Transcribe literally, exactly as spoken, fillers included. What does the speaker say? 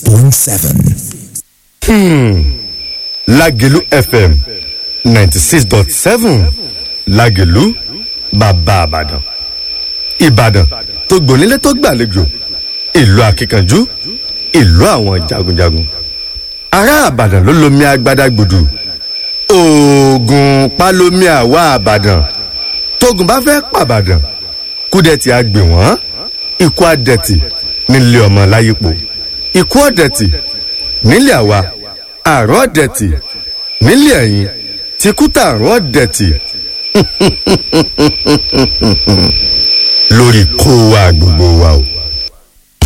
point seven. Lágelú F M ninety six dot seven, Lágelú, bàbá Àbàdàn, Ìbàdàn tó gbònílé tó gbàlejò, ìlú akíkanjú, ìlú àwọn jagunjagun. Ará Àbàdàn ló lomi agbada gbòdù, oògùn palomi. Àwa Àbàdàn, tógun bá fẹ́ pàbàdàn, kúdẹ̀tì á gbè wọ́n, ikú àdẹ̀tì nílé ọmọ láyípo, ikú ọ̀dẹ̀tì nílé àwa, àrùn ọ̀dẹ̀tì nílé ẹ̀yìn, tìkútà àrùn ọ̀dẹ̀tì lórí kó wa gbogbo wa o.